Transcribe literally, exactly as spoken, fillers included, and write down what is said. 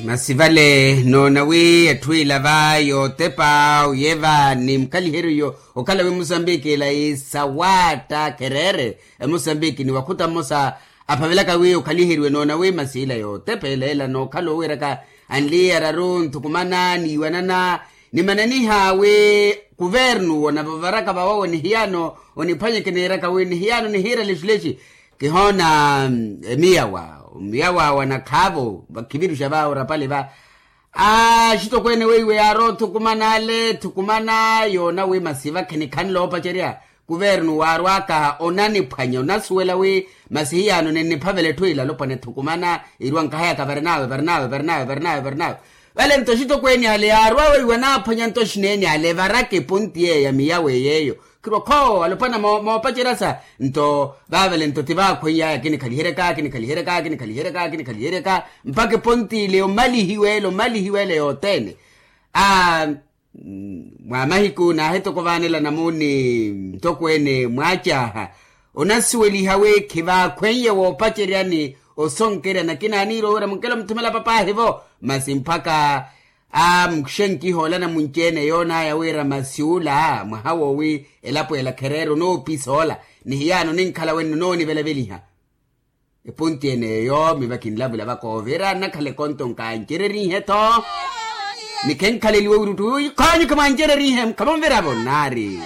Masi vale noona wi etthu ila va yootepa oyeva ni mukhaliheryo okhala wi musambiki ila isawaatta khereere, emusambiki ni wakhuta mmosa aphavelaka wi okhaliheriwe noona wi masi ila yootepa ela ela nookhala owiiraka anliya araru nthukumana niiwanana, nimananiha wi kuvernu onavavaraka vawowo nihiyano oniphwanye kiniiraka wi nihiyano nihiira lexi lexi. Kihoona emiyawa omiyawa wa nakhaavo vakhiviruxa va orapale va. Axitokweene weiwe yaarowa othukumana ale thukumana yoona wi masi vakhe nikhanle oopacerya. Kuvernu waarwaka onaniphwanya onasuwela wi masi hiyano ninniphavela etthu ila alopwana ethukumana. Iruwa nkahayaka varinawe varinawe varinawe varinawe varinawe. Vale nto axitokweene ale yaarwa weiwe anaaphwanya nto xineene ale evaraka eponti yeeyo ya miyawe yeeyo. Khirwa khoo alopwana moopacerya sa nto vaavale nto ti vaakhweiyaya kinikhaliheryaka kinikhaliheryaka kinikhaliheryaka kinikhaliheryaka mpakha eponti ile omalihiwele omalihiwele yothene. Aa. Mwa mahiku naahitoko vaanela namuuni ntokweene mwaacaaha onasuweliha wi khivaakhweiye woopaceryani osonkerya nakina aniira owira munkela omuthumela papaahi-vo. Masi mpakha amuxenkiha olana munci-ene yoonaya wira masi ula mwaha woowi elapo ela khereera onoopisa ola. Ni hiyano ninkhala wenno noonivelaveliha. Eponti ene eyo miva kinlavula vakoovira nnakhala ekonto nkancererihe-tho. Ni khenkhaleliwe wiruttu khoonyu khimwancererihe mukhamonviravo nnaari.